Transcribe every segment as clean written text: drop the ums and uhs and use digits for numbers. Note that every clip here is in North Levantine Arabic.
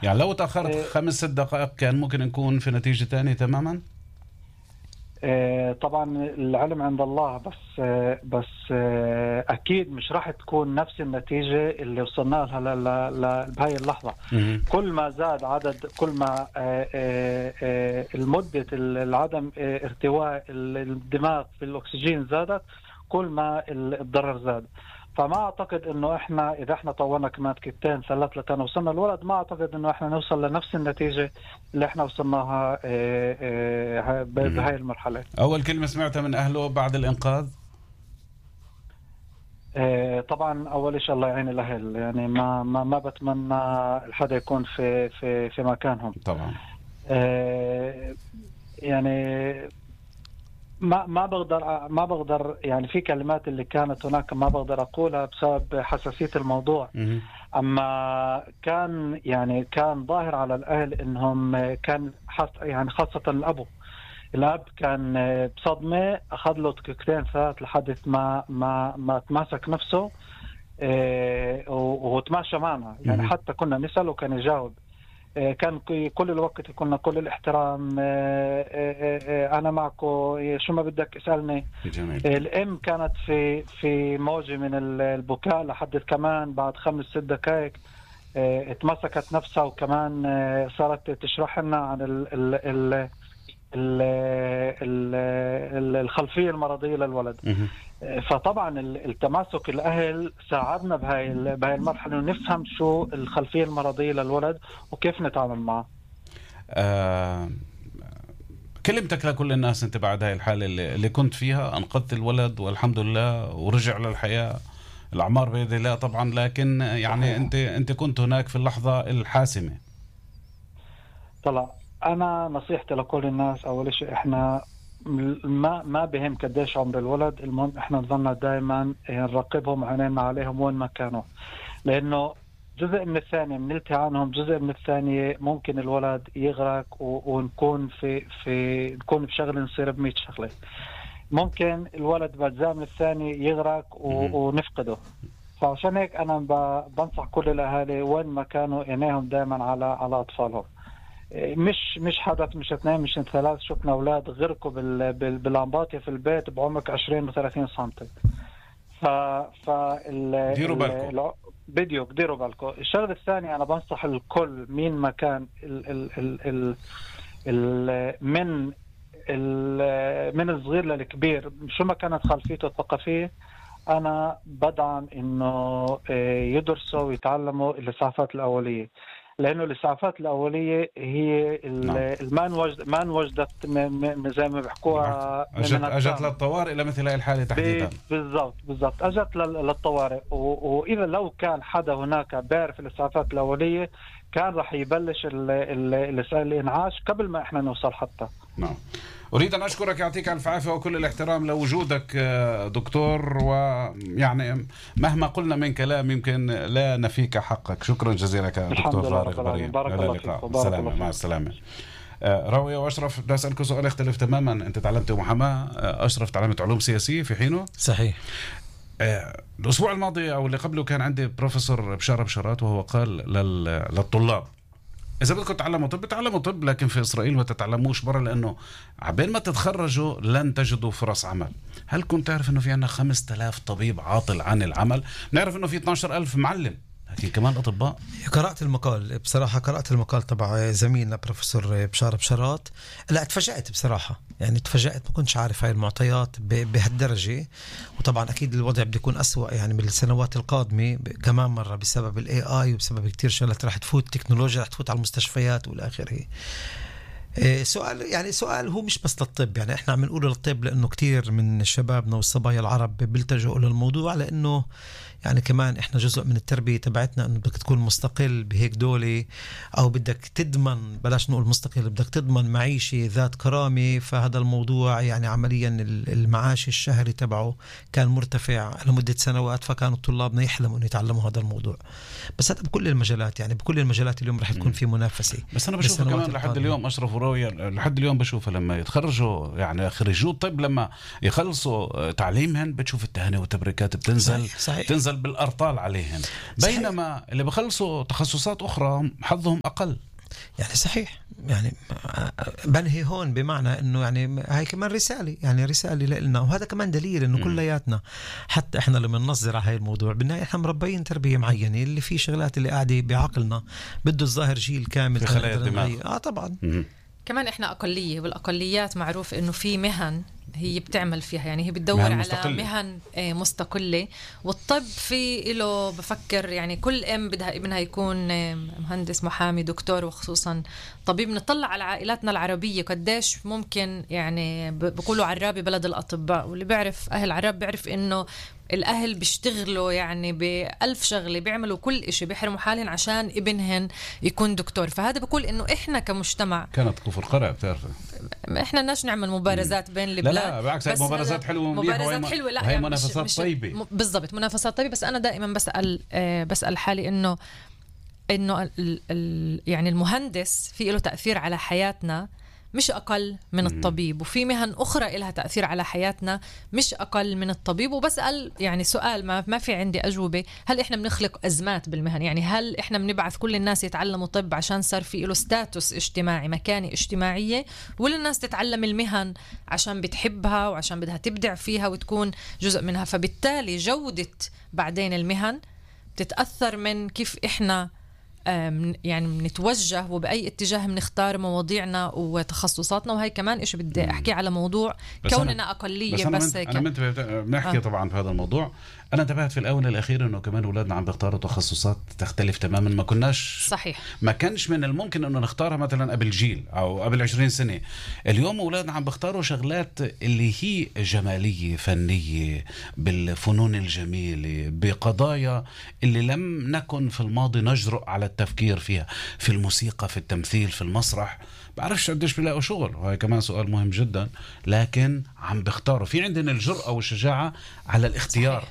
يعني لو تأخرت 5-6 دقائق كان ممكن نكون في نتيجة تانية تماما. طبعا العلم عند الله، بس اكيد مش راح تكون نفس النتيجة اللي وصلنا لها بهاي اللحظة. كل ما زاد عدد، كل ما المدة العدم ارتواء الدماغ في الاكسجين زادت، كل ما الضرر زاد. فما اعتقد انه احنا اذا احنا طورنا كمان دقيقتين 3 لكان وصلنا الولد، ما اعتقد انه احنا نوصل لنفس النتيجة اللي احنا وصلناها بهاي المرحلة. اول كلمة سمعتها من اهله بعد الانقاذ؟ طبعا اول شيء الله يعين الاهل، يعني ما بتمنى الحدا يكون في مكانهم طبعا. يعني ما بقدر يعني في كلمات اللي كانت هناك ما بقدر أقولها بسبب حساسية الموضوع. أما كان ظاهر على الأهل إنهم كان يعني خاصة الأب كان بصدمة، أخذ له دقيقتين 3 لحد ما تماسك نفسه وتماشى معنا. يعني حتى كنا نسأل وكان يجاوب. كان كل الوقت كنا كل الاحترام، أنا معكو، شو ما بدك اسألني. الأم كانت في موجة من البكاء لحد كمان بعد 5-6 دقائق اتمسكت نفسها، وكمان صارت تشرح لنا عن الخلفية المرضية للولد. فطبعا التماسك الأهل ساعدنا بهاي المرحلة نفهم شو الخلفية المرضية للولد وكيف نتعامل معه. كلمتك لكل الناس انت بعد هاي الحالة اللي كنت فيها، انقذت الولد والحمد لله ورجع للحياة، الأعمار بيد الله طبعا، لكن يعني انت كنت هناك في اللحظة الحاسمة. طلع أنا نصيحتي لكل الناس، أول شيء إحنا ما بهم قديش عمر الولد، المهم إحنا نظلنا دائما نراقبهم وعينينا عليهم وين ما كانوا، لأنه جزء من الثانية بنلتهي عنهم، جزء من الثانية ممكن الولد يغرق ونكون نكون بشغل نصير ب100 شغلة. ممكن الولد بأجزاء من الثانية يغرق ونفقده. فعشان هيك أنا بنصح كل الأهالي وين ما كانوا عينيهم دائما على أطفالهم. مش حدث، مش 2، مش 3، شفنا أولاد غرقوا بالأنباطية في البيت بعمق 20 و30 سنتي. ديروا بالكم، ديروا بالكم. الشغلة الثانية أنا بنصح الكل مين ما كان من الصغير للكبير، شو ما كانت خلفيته الثقافية، أنا بدعم إنه يدرسوا ويتعلموا الإسعافات الأولية، لأنه الإسعافات الأولية هي ما وجدت زي ما بيحكوها أجت للطوارئ لمثل هاي الحالة تحديدا. بالضبط أجت للطوارئ. وإذا لو كان حدا هناك بيعرف الإسعافات الأولية كان رح يبلش الإنعاش قبل ما إحنا نوصل حتى. نعم. أريد أن أشكرك، يعطيك ألف عافية وكل الاحترام لوجودك دكتور، ويعني مهما قلنا من كلام يمكن لا نفيك حقك. شكرا جزيلا دكتور فارغ بريم. بارك الله فيك. سلامة. مع السلامة. راوية وأشرف، بدي أسألك سؤال يختلف تماما. أنت تعلمت محاماة، أشرف تعلمت علوم سياسية في حينه. صحيح. الأسبوع الماضي أو اللي قبله كان عندي بروفيسور بشارة بشارات، وهو قال للطلاب إذا بدكم تتعلموا طب تعلموا طب، لكن في إسرائيل ما تتعلموش برا، لأنه عبين ما تتخرجوا لن تجدوا فرص عمل. هل كنت تعرف أنه في عنا 5000 طبيب عاطل عن العمل؟ نعرف أنه في 12000 معلم، لكن كمان أطباء. قرأت المقال بصراحة، قرأت المقال تبع زميلنا بروفيسور بشارة بشارات. لا اتفاجأت بصراحة، يعني اتفاجأت، ما كنتش عارف هاي المعطيات بهالدرجة. وطبعا أكيد الوضع بده يكون أسوأ يعني بالسنوات القادمة كمان مرة بسبب ال AI وبسبب كتير شغلات رح تفوت، تكنولوجيا رح تفوت على المستشفيات والآخره. سؤال هو مش بس للطب، يعني احنا عم نقول للطب لأنه كتير من شبابنا والصبايا العرب بيلتجوا للموضوع، لأنه يعني كمان احنا جزء من التربية تبعتنا انه بدك تكون مستقل بهيك دولة، او بدك تضمن، بلاش نقول مستقل، بدك تضمن معيشة ذات كرامة. فهذا الموضوع يعني عمليا المعاش الشهري تبعه كان مرتفع لمدة سنوات، فكانوا طلابنا يحلموا انه يتعلموا هذا الموضوع. بس هذا بكل المجالات، يعني بكل المجالات اليوم رح تكون في منافسة. بس انا بشوف كمان لحد اليوم أشرف وراوية، لحد اليوم بشوفها لما يتخرجوا، يعني خريجو الطب لما يخلصوا تعليمهم بتشوف التهاني والتبريكات بتنزل. صحيح. تنزل ينزل بالأرطال عليهم، بينما اللي بخلصوا تخصصات أخرى حظهم أقل. يعني صحيح، يعني بنهي هون بمعنى انه يعني هاي كمان رسالة، يعني رسالة لنا، وهذا كمان دليل انه كلياتنا حتى احنا لما ننظر على هاي الموضوع بالنهاية احنا مربيين تربية معينة، اللي في شغلات اللي قاعدة بعقلنا بده الظاهر جيل كامل في خلايا الدماغ. طبعا. كمان احنا أقلية، والأقليات معروف انه في مهن هي بتعمل فيها، يعني هي بتدور على مهن مستقلة. والطب في له بفكر يعني كل بدها ابنها يكون مهندس، محامي، دكتور، وخصوصا طبيب. نطلع على عائلاتنا العربية قديش ممكن، يعني بقولوا عرابي بلد الأطباء، واللي بيعرف أهل عراب بيعرف إنه الأهل بيشتغلوا يعني ب1000 شغلة، بيعملوا كل إشي، بيحرموا حالهم عشان ابنهن يكون دكتور. فهذا بقول إنه إحنا كمجتمع كانت كفر قرع، بتعرف إحنا بدناش نعمل مبارزات بين البلاد. لا بالعكس، هاي مبارزات حلوة، مبارزات حلوة، لا هاي يعني منافسات طيبة. بالضبط، منافسات طيبة. بس أنا دائما بسأل حالي إنه يعني المهندس في له تأثير على حياتنا مش أقل من الطبيب، وفي مهن أخرى إلها تأثير على حياتنا مش أقل من الطبيب. وبسأل يعني سؤال ما في عندي أجوبة، هل إحنا بنخلق أزمات بالمهن؟ يعني هل إحنا بنبعث كل الناس يتعلموا طب عشان صار في له ستاتوس اجتماعي، مكانة اجتماعية، ولا الناس تتعلم المهن عشان بتحبها وعشان بدها تبدع فيها وتكون جزء منها؟ فبالتالي جودة بعدين المهن بتتأثر من كيف إحنا يعني بنتوجه وبأي اتجاه بنختار مواضيعنا وتخصصاتنا. وهي كمان إيش بدي أحكي على موضوع كوننا أقلية. بس أنا بنحكي طبعا في هذا الموضوع. أنا انتبهت في الآونة الأخيرة إنه كمان أولادنا عم بيختاروا تخصصات تختلف تماما. ما كناش صحيح، ما كانش من الممكن إنه نختارها مثلا قبل جيل أو قبل 20 سنة. اليوم أولادنا عم بيختاروا شغلات اللي هي جمالية، فنية، بالفنون الجميلة، بقضايا اللي لم نكن في الماضي نجرؤ على التفكير فيها، في الموسيقى، في التمثيل، في المسرح. بعرفش قديش بيلاقوا شغل، وهي كمان سؤال مهم جدا. لكن عم بيختاروا، في عندنا الجرأة والشجاعة على الاختيار.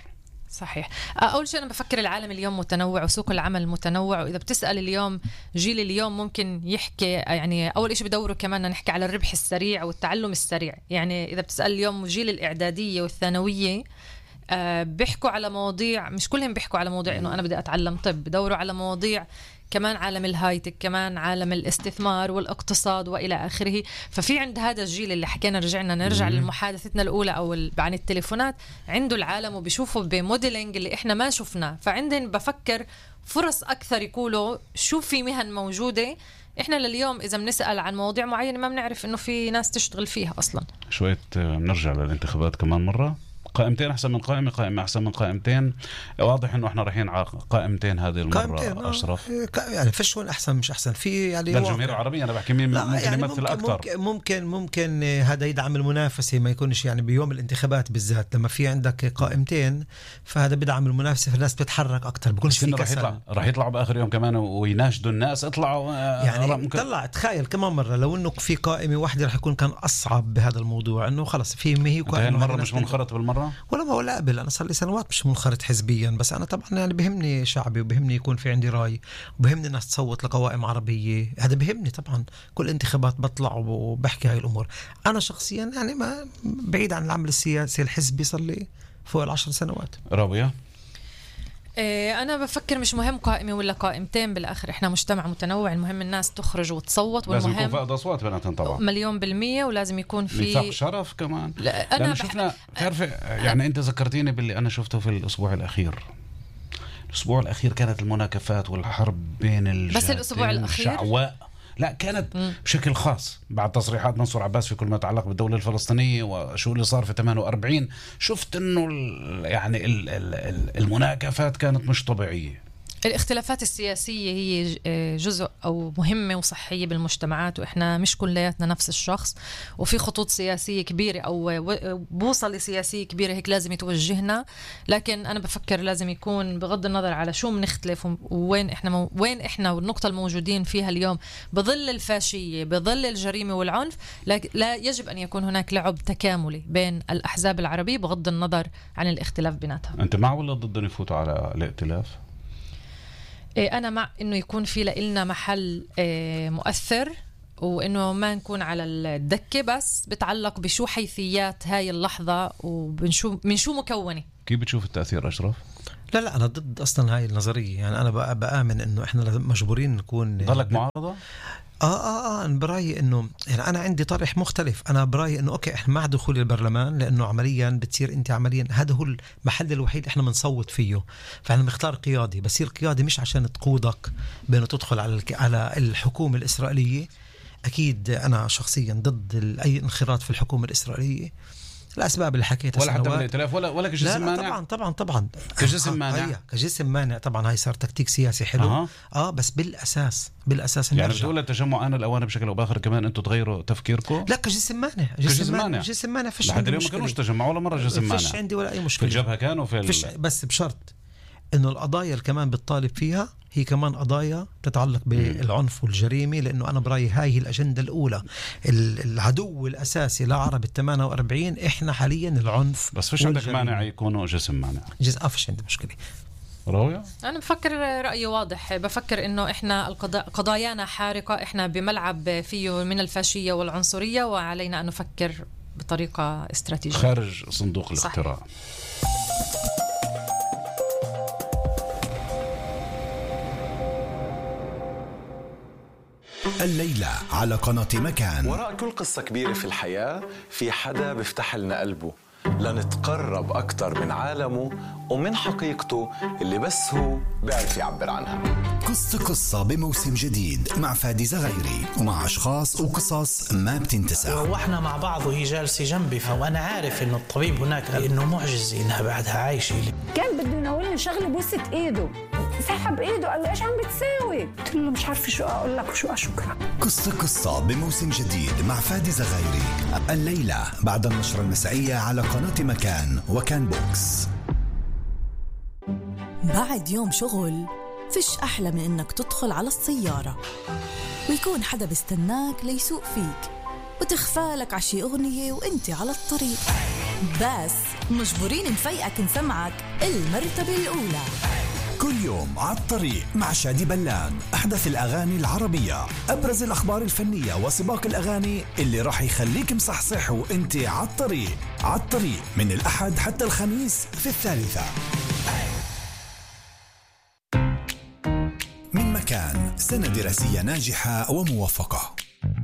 صحيح. أول شيء أنا بفكر العالم اليوم متنوع وسوق العمل متنوع. وإذا بتسأل اليوم جيل اليوم ممكن يحكي، يعني أول شيء بدوروا كمان نحكي على الربح السريع والتعلم السريع. يعني إذا بتسأل اليوم جيل الإعدادية والثانوية بيحكوا على مواضيع، مش كلهم بيحكوا على مواضيع إنه أنا بدي أتعلم طب، بدوروا على مواضيع كمان عالم الهايتك، كمان عالم الاستثمار والاقتصاد وإلى آخره. ففي عند هذا الجيل اللي حكينا نرجع لمحادثتنا الأولى أو عن التليفونات، عنده العالم وبيشوفوا بموديلينج اللي إحنا ما شفناه. فعندهم بفكر فرص أكثر يقولوا شو في مهن موجودة. إحنا لليوم إذا بنسأل عن مواضيع معينة ما بنعرف إنه في ناس تشتغل فيها أصلا. شوية بنرجع للانتخابات كمان مرة. قائمتين أحسن من قائمة أحسن من قائمتين. واضح إنه إحنا رايحين على قائمتين هذه المرة. أشرف يعني فيش وين أحسن مش أحسن في يعني الجمهورية العربية. أنا بحكي مين ممكن يعني يمثل أكثر. ممكن هذا يدعم المنافسة، ما يكونش يعني بيوم الانتخابات بالذات لما في عندك قائمتين، فهذا بدعم المنافسة، فالناس بتتحرك أكثر، بيكونش في كسل. راح يطلعوا بآخر يوم كمان ويناشدوا الناس اطلعوا. يعني طلع تخيل كمان مرة لو إنه في قائمة واحدة راح يكون كان أصعب بهذا الموضوع، إنه خلص في هي قائمة مرة مش منخرط بالمرة ولا قبل. أنا صار لي سنوات مش منخرط حزبيا، بس أنا طبعا يعني بهمني شعبي وبهمني يكون في عندي رأي وبهمني الناس تصوت لقوائم عربية. هذا بهمني طبعا. كل انتخابات بطلع وبحكي هاي الأمور. أنا شخصيا يعني ما بعيد عن العمل السياسي الحزبي صار لي فوق 10 سنوات. رابية أنا بفكر مش مهم قائمة ولا قائمتين، بالآخر إحنا مجتمع متنوع، المهم الناس تخرج وتصوت، لازم والمهم يكون فائض أصوات بناتهم طبعا 1,000,000%. ولازم يكون في ميثاق شرف كمان. أنا شفنا تعرف يعني أنت ذكرتيني باللي أنا شفته في الأسبوع الأخير. الأسبوع الأخير كانت المناكفات والحرب بين الجهتين. بس الأسبوع الأخير شعواء. لا كانت بشكل خاص بعد تصريحات منصور عباس في كل ما يتعلق بالدولة الفلسطينية وشو اللي صار في 48. شفت انه يعني المناكفات كانت مش طبيعية. الاختلافات السياسية هي جزء أو مهمة وصحية بالمجتمعات، وإحنا مش كلياتنا نفس الشخص، وفي خطوط سياسية كبيرة أو بوصلة سياسية كبيرة هيك لازم يتوجهنا. لكن أنا بفكر لازم يكون بغض النظر على شو بنختلف وين إحنا والنقطة الموجودين فيها اليوم بظل الفاشية، بظل الجريمة والعنف، لا يجب أن يكون هناك لعب تكاملي بين الأحزاب العربية بغض النظر عن الاختلاف بيناتها. أنت مع ولا ضد أن يفوتوا على الائتلاف؟ أنا مع إنه يكون في لنا محل مؤثر وإنه ما نكون على الدكة، بس بتعلق بشو حيثيات هاي اللحظة من شو مكونة. كيف بتشوف التأثير أشرف؟ لا أنا ضد أصلا هاي النظرية. يعني أنا بآمن إنه إحنا مجبورين نكون. ضلك معارضة؟ أنا برأيي إنه يعني أنا عندي طرح مختلف. أنا برأيي إنه أوكي إحنا مع دخول البرلمان، لأنه عمليا بتصير أنت عمليا هذا هو المحل الوحيد إحنا بنصوت فيه. فإحنا بنختار قيادي، بس القيادي مش عشان تقودك بأنه تدخل على الحكومة الإسرائيلية. أكيد أنا شخصيا ضد أي انخراط في الحكومة الإسرائيلية الأسباب اللي حكيتها، ولا حتى بالائتلاف ولا كجسم مانع. طبعا كجسم مانع. كجسم مانع طبعا. هاي صار تكتيك سياسي حلو. بس بالأساس يعني بتقول التجمع أنا الأوان بشكل أو بآخر كمان أنتوا تغيروا تفكيركم. لا كجسم مانع فيش لحد اليوم ما كانوش تجمع ولا مرة جسم مانع. فيش عندي ولا أي مشكلة. في الجبهة كانوا بس بشرط إنه القضايا اللي كمان بتطالب فيها هي كمان قضايا تتعلق بالعنف والجريمة، لأنه أنا برأيي هاي الأجندة الأولى. العدو الأساسي لعرب 48 إحنا حاليا العنف. بس فيش عندك مانع يكونوا جسم مانع؟ فيش عندي مشكلة. راوية؟ أنا بفكر رأيي واضح. بفكر إنه إحنا قضايانا حارقة، إحنا بملعب فيه من الفاشية والعنصرية، وعلينا أن نفكر بطريقة استراتيجية خارج صندوق الاقتراع. الليلة على قناة مكان. وراء كل قصة كبيرة في الحياة في حدا بيفتح لنا قلبه لنتقرب أكتر من عالمه ومن حقيقته اللي بس هو بيعرف يعبر عنها. قصة بموسم جديد مع فادي زغيري، ومع أشخاص وقصص ما بتنتسى. وإحنا مع بعض وهي جالسة جنبي، وأنا عارف إنه الطبيب هناك إنه معجزة إنها بعدها عايشة. كان بده يناولني شغله بوسة إيده، سحب إيده قال لي إيش عم بتساوي؟ قلت له مش عارفة شو أقول لك وشو أشكرك. قصة بموسم جديد مع فادي زغيري الليلة بعد النشرة المسائية على قناة مكان وكان بوكس. بعد يوم شغل فيش أحلى من إنك تدخل على السيارة ويكون حدا بيستناك ليسوق فيك وتخفالك عشي أغنية وإنت على الطريق، بس مجبورين نفيقك نسمعك المرتبة الأولى. كل يوم على الطريق مع شادي بلان، أحدث الأغاني العربية، أبرز الأخبار الفنية وسباق الأغاني اللي راح يخليك مصحصح وإنت على الطريق من الأحد حتى الخميس في 3. من مكان، سنة دراسية ناجحة وموفقة.